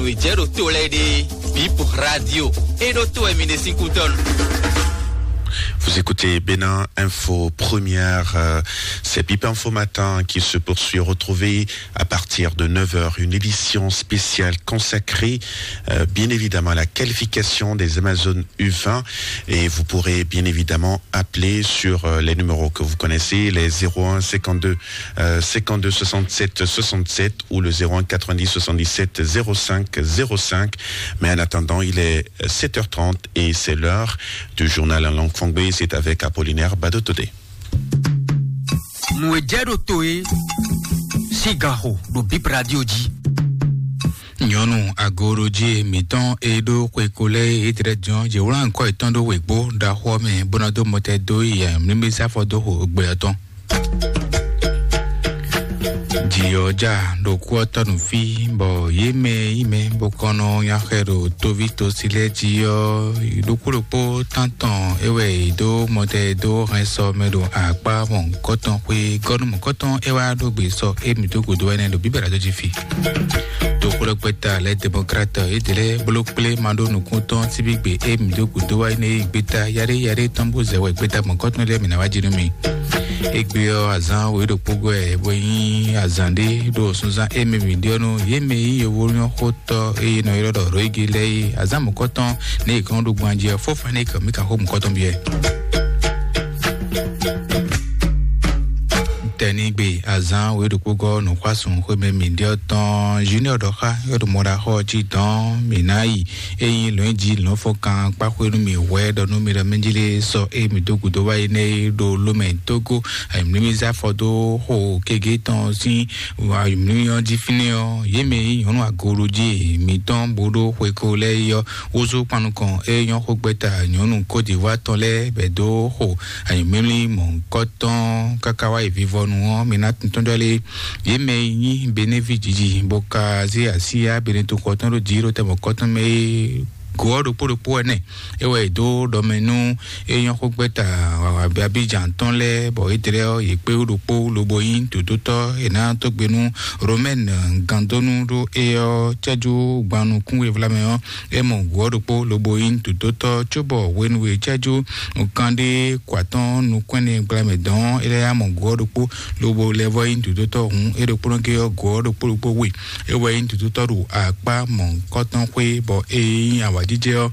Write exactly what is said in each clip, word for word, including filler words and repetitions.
Jɛ ɖo to lɛ ɖe, Bip Radio. E ɖo to e mi ɖe sín kútɔnu. Vous écoutez Bénin Info Première. Euh, c'est Bip Info Matin qui se poursuit. Retrouvez à partir de neuf heures une édition spéciale consacrée, euh, bien évidemment, à la qualification des Amazones U vingt. Et vous pourrez bien évidemment appeler sur, euh, les numéros que vous connaissez, les zéro un cinquante-deux, euh, cinquante-deux soixante-sept soixante-sept ou le zéro un quatre-vingt-dix soixante-dix-sept zéro cinq zéro cinq. Mais en attendant, il est sept heures trente et c'est l'heure du journal en langue fangbe. C'est avec Apollinaire Badotodé. Nú e jɛ ɖo to e, sigaxo ɖo Bip Radio jí. Nyɔnu agorojí mǐtɔn e ɖó xweko lɛ́ɛ é tlɛ jɔn yě wlán kɔ yětɔn ɖó wěgbó ɖaxó ɔ́ mɛ, bó ná dó mɔtɛ dó yi mlímlí sáfɔ dó xo gbe ɔ́ tɔn. Jǐ ɔ́ ja ɖo kú ɔ́ tɔ́ nú fí, bɔ yě mɛ yi mɛ bó kɔn nɔ nya xɛ ɖo tóví tosi lɛ́ɛ jí ɔ́, ɖokpó ɖokpó tántɔn é wɛ yě dó mɔtɛ dó hɛn sɔ mɛ ɖo akpá mɔ̌kɔtɔn xwé gɔ́nú mɔ̌kɔtɔn é wá ɖó gbe sɔ é mǐ dó gǔdo wɛ nɛ́ ɖo bíbɛ́ ɖo jí fi. Toxo ɖɔkpɛta lɛ́ Demokrat édɛlɛ bló kplé ma ɖó nukúntɔn síbígbe é mǐ dó gǔdo wá énɛ́ gbéta yaɖé yaɖé tɔn bó zɛ wɛ gbéta gbɔn kɔ́tɔn lɛ́ɛ mǐ ná wá jí nú mi. Égbé ɔ́, azǎn wǒ ɖokpó gɔ́ ɛ bó nyí azǎn ɖé ɖo sunzán émí mǐ ɖiɔ́ nú yě mɛ yí yovónyɔ́ xótɔ́ e nɔ ylɔ́ ɖɔ Roigi lɛ́ɛ é. Azǎn mɔ̌kɔ́tɔn nɛ è kɔn ɖó gban jí ɔ́, fó fán nɛ kɛ mǐ ka xó mɔ̌kɔ́tɔn byɔ́. Tɛnigbe azǎn wǒ ɖokpó gɔ́ nǔxwásún xwémɛ mǐ ɖiɔ́ tɔn Junior ɖɔ xá yɔ́ ɖo mɔɖaxɔ jí dɔn mǐ ná yi. Ényí lɔ̌nyijǐ lɔ̌nfɔ́nkan kpá xwé nú mì hwɛ̌ ɖɔ nú mi ɖɔ mɛjlé sɔ e mǐ dó gǔdo wá yi nɛ́ é ɖo lómɛ tógó ayǐmlímí zé afɔ dó xo kegě tɔn sín ayǐmlímí ɔ́ jí fínɛ́ ɔ́, yě mɛ e nyí nyɔ̌nu agolojí mǐtɔn bó ɖó xweko lɛ́ɛ é ɔ́, wózú kpan nukɔn é nyɔ́ xó gbɛ́ta nyɔ̌nu Côte d'Ivoire tɔn lɛ́ɛ bɛ̌ dó xo ayǐmlímí mɔ̌hunkɔtɔn káká wá yi vivɔnu ɔ́, mi ná tuntɔ́n jɔ lé. Yě mɛ e nyí Beneví jiji bó ka zé asíyá Benetoxɔ tɔn ɖó jǐ ɖo tɛmɔ̌kɔ tɔn mɛ é, go ɔ́ ɖokpó ɖokpó ɛnɛ é wɛ è dó ɖɔ mɛ nú é nyɔ́ xó gbɛ́ta Abidjan tɔn lɛ́ɛ, bɔ édɛlɛ ɔ́, yě kpé wú ɖokpó lobo nyí dǒdótɔ́ è nǎ dó gbe nú Romaine gandónú ɖó é ɔ́ cɛ́jú gban nukún e vlamɛ ɔ́, é mɔ go ɔ́ ɖokpó lobo nyí dǒdótɔ́ cóbɔ hwenu e cɛ́jú kanɖé kɔ atɔ́n nukún ɛnɛ gblamɛ dɔn é lɛ́ yá mɔ go ɔ́ ɖokpó lobo lɛ́ vɔ nyí dǒdótɔ́ hǔn é ɖokpónɔ géé ɔ́, go ɔ́ ɖokpó ɖokpó we é wɛ nyí dǒdótɔ́ ɖo akpá mɔ̌hunkɔtɔn xwé, bɔ é nyí awǎjijɛ ɔ́,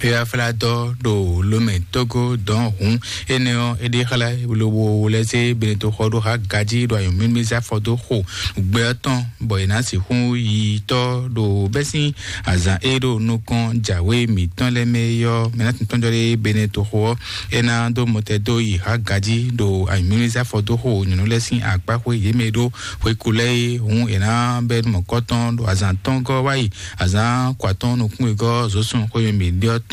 é wá flá dɔ́ ɖo lomɛ tógó dɔn hǔn. Énɛ́ ɔ́, é ɖe xlɛ́ lobo lɛ́ zé Benetoxɔ ɖó há gají ɖo anyǔmímí zé afɔ dó xo gbɛ ɔ́ tɔn, bɔ è nǎ sixú yi tɔ́ ɖo bɛ́ sín azǎn e ɖo nukɔn jǎwe mǐtɔn lɛ́ɛ mɛ é ɔ́, mɛ ná tɔntɔ́n jɔ ɖé Benetoxo ɔ́, é ná dó mɔtɛ dó yi há gají ɖo anyǔmímí zé afɔ dó xo nyɔ̌nu lɛ́ɛ sín akpá xwé yě mɛ e ɖó xweku lɛ́ɛ é hǔn è nǎ bɛ́ mɔ̌kɔ́tɔn ɖo azǎn tɔn gɔ́ wá yi azǎn kɔ atɔn nukún wegɔ́ zǒsun xwé mɛ mǐ ɖe ɔ́ tɔn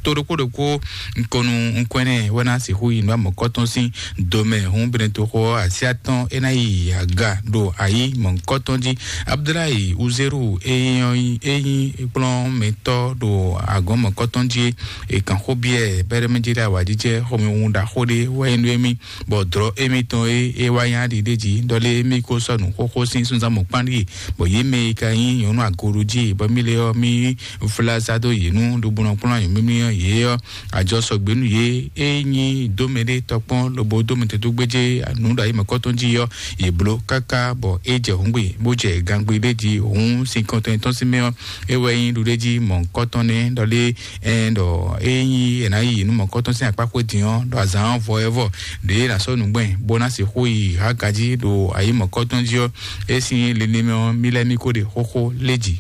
tó ɖokpó ɖokpó nukɔn nú nukɔn ɛnɛ wɛ ná sixú yi nǔ amɔ̌kɔ́tɔn sín domɛ hǔn Benetoxo ɔ́, así atɔn é ná yi aga ɖo ayǐ mɔ̌kɔ́tɔn jí. Abudulayi Uzeru e nyí kplɔ́nmɛtɔ́ ɖo agɔ̌n mɔ̌kɔ́tɔn jí é, è kǎn xó byɔ́ ɛ bɛ́ɖɛ́mɛjí ɖo awǎjijɛ xɔmɛhun ɖaxó ɖé wɛ nyí nú émí, bɔ dlɔ̌ émítɔn e é wá nyá ɖiɖéjǐ ɖɔ lé émí ko sɔ́ nǔ xóxó sín súnzán mɔ̌kpán ɖíe, bɔ yě mɛ e ka nyí nyɔ̌nu agolo jí, bɔ mí lɛ́ ɔ́, mí flá zá dó yě nú ɖo bó nɔ kplɔ́n anyǔmímí ɔ́ yě ɔ́, ajɔ sɔgbe nú yě. É nyí dómɛ ɖé tɔkpɔn lobo dómɛ tɛ́ dó gbéjé nǔ ɖo ayǐ mɔ̌kɔ́tɔn jí ɔ́, yě bló káká bɔ é jɛ hǔngbe, bó jɛ gangbé ɖé jí hǔn sin kɔntɔn tɔn sín mɛ ɔ́, é wɛ nyí ɖuɖéjí mɔ̌kɔ́tɔn nɛ́ ɖɔ lé ɛn ɖɔ é nyí è nǎ yi nú mɔ̌kɔ́tɔn sín akpá xwé din ɔ́, ɖɔ azǎn ɔ́ vɔ ɛ vɔ ɖě ná sɔ́ nǔgbɛ́n bó ná sixú yi há gají ɖo ayǐ mɔ̌kɔ́tɔn jí ɔ́, é sín linlin mɛ ɔ́, mí lɛ́ mí kó ɖe xóxó lé jǐ.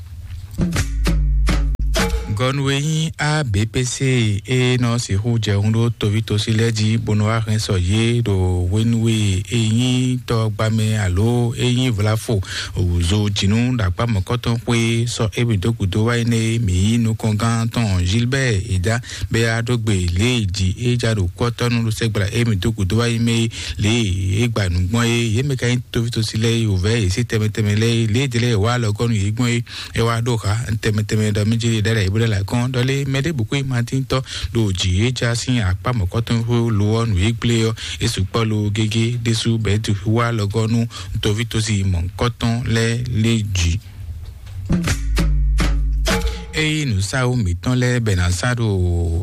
Gɔnu e nyí A B P C e nɔ sixú jɛ hun ɖó toví tosi lɛ́ɛ jí bó nɔ wá hɛn sɔ yě ɖo hwenu e e nyí tɔgbamɛ alo e nyí vlafo wǔzo jǐnú ɖo akpá mɔ̌kɔtɔn xwé sɔ émí dó gǔdo wá yi nɛ mǐ yí nukɔngán tɔn Gilbert Eda bɛ ya ɖó gbe lě e jǐ é ja ɖo kɔ́tɔ́nu ɖo sɛgbla émí dó gǔdo wá yi mɛ lě e é gba nǔ gbɔn é. Yě mɛ ka nyí toví tosi lɛ́ɛ e wǔvɛ́ yě sí tɛmɛ tɛmɛ lɛ́ɛ é, lě e jɛ lɛ́ɛ è wá alɔ gɔ́ nú yě gbɔn é. É wá ɖó xa tɛmɛ tɛmɛ ɖɔ mí jɛ ɖɛɖɛ yě bó ɖe la kɔn ɖɔ lé mɛ ɖěbǔ kó nyí Matín tɔ́ ɖo jǐ é já sín akpá mɔ̌kɔtɔn xó lo ɔ́ nǔ e gblé ɔ́, é sukpɔ́ lo gégé ɖésú bɛ̌ tu wá lɔgɔ́ nú toví tosi mɔ̌kɔtɔn lɛ́ɛ lé jǐ. Eye nǔsáwú mǐtɔn lɛ́ɛ bɛ ná sá ɖo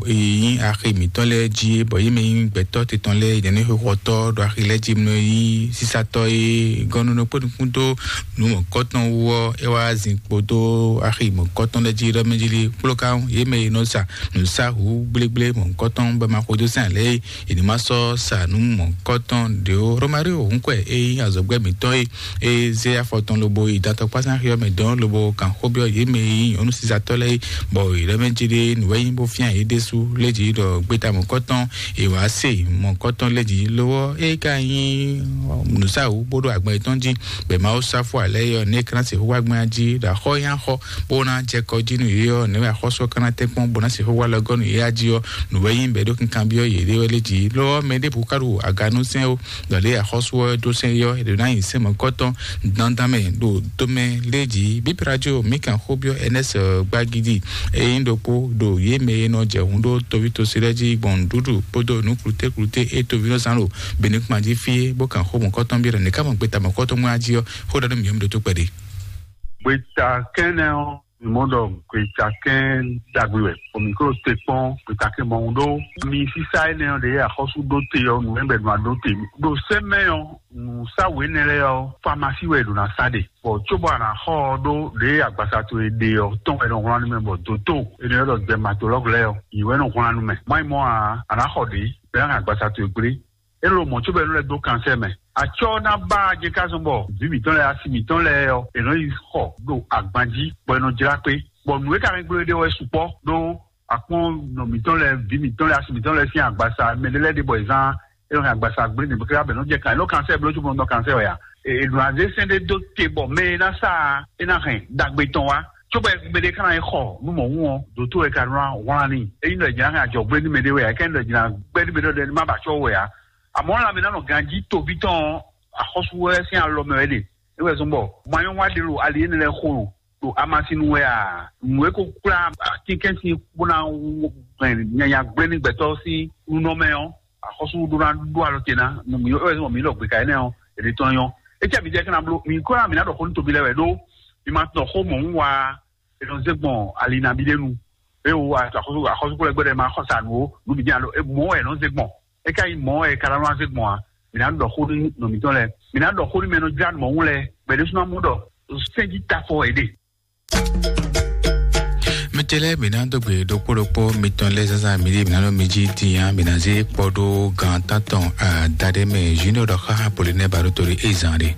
eye nyí axi mǐtɔn lɛ́ɛ jí, bɔ yě mɛ nyí gbɛtɔ́ titɔn lɛ́ɛ, yě ní xixɔtɔ́ ɖo axi lɛ́ɛ jí mɛ nyí sísátɔ́ e gɔ́núnú kpó nukún dó nǔ mɔ̌kɔtɔn wú ɔ́, é wá zin kpódó axi mɔ̌kɔtɔn lɛ́ɛ jí ɖɔ mɛ jí lí kplɔ́ká yě mɛ e nɔ sa nǔsáwú gblégblé mɔ̌kɔtɔn bɔ ma xwedó sɛn lɛ́ɛ, yě ní ma sɔ́ sa nǔ mɔ̌kɔtɔn ɖě ó. Romario Hunkwɛ e nyí azɔ̌gbɛ́ mǐtɔn e e zé afɔ tɔn lobo yi datɔkpá sín axi ɔ́ mɛ dɔn lobo kan xó byɔ́ yě mɛ e nyí nyɔ̌nu sisatɔ́ lɛ́ɛ é, bɔ yě lɛ́ mɛ jí ɖé nǔ wɛ nyí bó fyán yě ɖésú lé jí ɖɔ gbeta mɔ̌kɔtɔn è wǎ se mɔ̌kɔtɔn lé jí lówɔ é ka nyí nǔsáwú bó ɖo agban yětɔn jí, bɛ Mawu sáfó alɛ yɔ nɛ́ é ka ná sixú wá gbɛn jí ɖo axɔ́ nyí axɔ bó ná jɛ kɔ jí nú yě ɔ́, nɛ̌ wɛ axɔ́sú ɔ́ ka ná tɛ́nkpɔ́n bó ná sixú wá lɔ gɔ́ nú yě á jí ɔ́, nǔ wɛ nyí bɔ é ɖó kankanbyɔ́ yěɖée wɛ lé jí. Lɔ ɔ́, mɛ ɖěbǔ ka ɖo aganúsɛn ó, ɖɔ lě axɔ́sú ɔ́ dó sɛn yɔ́, è ɖǒ ná nyi sɛn mɔ̌kɔtɔn dandan mɛ ɖo tomɛ lé jí. Bíbí radio mǐ kan xó byɔ́ Ernest Gbagidi, é nyí ɖokpó ɖo yě mɛ e nɔ jɛ hǔn ɖó toví tosí lɛ́ɛ jí gbɔn nǔɖuɖu kpódó nǔ klutékluté e toví nɔ zán ɖo Benin kpan jí fí é, bó kan xó mɔ̌kɔtɔn byɔ́ ɖɔ nɛ̌ ká mɔ gbeta mɔ̌kɔtɔn mɔ á jí ɔ́, xó ɖɔ nú mǐ ɔ́, mi ɖótó kpɛɖé. Gbeta kɛ́nɛ ɔ́, mi mɔ ɖɔ gbeta kɛ́n ɖagbe wɛ, bɔ mi klo te kpɔn gbeta kɛ́n mɔ ɖó mi sísá énɛ́ ɔ́ ɖě axɔ́sú ɖó te ɔ́, nǔ ɛbɛ nɔ aɖó te ɖo sɛ́ mɛ ɔ́, nǔsáwǔ énɛ́ lɛ́ɛ ɔ́, famasi wɛ è ɖǒ ná sá ɖe, bɔ cóbɔ a nǎ xɔ ɔ́ ɖó ɖě agbasa towe ɖe ɔ́ tɔn wɛ nɔ wlán nú mɛ, bɔ dǒtó énɛ́ lɛ́ɛ ɖɔ dɛmatolɔ́gu lɛ́ɛ ɔ́, yě wɛ nɔ wlán nú mɛ. Má nyí mɔ̌ ǎ, a nǎ xɔ ɖě bɔ é ná hɛn agbasa towe gblé. É ɖo mɔ̌ cóbɔ é nɔ lɛ́ dó kansɛ́ mɛ. Acyɔ́ ná ba je ká zɔn bɔ vǐ mǐtɔn lɛ́ɛ, asi mǐtɔn lɛ́ɛ ɔ́, è nɔ yi xɔ ɖo agban jí, bɔ è nɔ jlá kpé, bɔ nǔ e ka hɛn gblé ɖe wɛ sukpɔ́ ɖó akpɔ́n nɔ mǐtɔn lɛ́ɛ, vǐ mǐtɔn lɛ́ɛ, asi mǐtɔn lɛ́ɛ sín agbasa mɛ ɖé lɛ́ɛ ɖe bɔ è zán é nɔ hɛn agbasa gblé nǐ bó ká bɛ nɔ jɛ kan, é nɔ kansɛ́ bló cóbɔ nɔ kansɛ́ wɛ a? È nɔ azé sɛn ɖé dó te bɔ mɛ e ná sa é ná hɛn ɖagbe tɔn wá. Cóbɔ mɛ ɖé ká ná yi xɔ nú mɔ̌hun ɔ́, dǒtó wɛ ka nɔ wlán n'i. Ényí ɖɔ è jǐ ná hɛn ajɔ̌gbé nú mɛ ɖé wɛ a, é ká nyí ɖɔ è jǐ ná gbɛ́ nú mɛ ɖé wɛ má ba acɔ́ wɛ a? Àmọ́ lanmɛ ná nɔ ganjí toví tɔn ɔ́, axɔ́sú wɛ sín alɔ mɛ wɛ ɖe. É wɛ zɔ́n bɔ manyɔ́wa ɖé ɖo ali énɛ́ lɛ́ɛ xo ɖo ɖo amasinu wɛ a? Nǔ e ko kplá atínkɛ́nsin bó ná hɛn nyanya gblé ní gbɛtɔ́ sín nunɔ mɛ ɔ́, axɔ́sú ɖó ná ɖó alɔ te ná nú mǐ. É wɛ zɔ́n bɔ mǐ ɖɔ gběka énɛ́ ɔ́, è ɖe tɔn nyɔ́. É cɛ mi jɛ kɛ́ ná bló, mǐ kó ná mǐ ná ɖɔ xó nú toví lɛ́ɛ wɛ ɖó mi ma tunɔ xó mɔ̌hun wá. È nɔ zé gbɔn ali nabí ɖé nu. É wo axɔ́sú, axɔ́sú kplɔ́ gbɛdɛ ma xɔ sa nǔ ó, nǔ bǐ jɛ́n alo mɔ̌ wɛ è nɔ zé gbɔn. É ka nyí mɔ̌ wɛ è ka ná nɔ zé gbɔn ǎ. Mǐ ná ɖɔ xó nú nɔ mǐtɔn lɛ́ɛ. Mǐ ná ɖɔ xó nú mɛ e nɔ jlá nǔ mɔ̌hun lɛ́ɛ, bɔ è ɖésú ná mɔ ɖɔ sɛ́n jí tafɔ è ɖe. Mi te lɛ́ɛ, mǐ ná dó gbe ɖokpó ɖokpó mitɔn lɛ́ɛ zazá mi ɖíe mǐ ná nɔ mi jí din ǎ, mǐ ná zé kpɔ́ ɖó gan tántɔn adaɖé mɛ Junior ɖɔ xá Apollinaire Barotori é zán ɖe.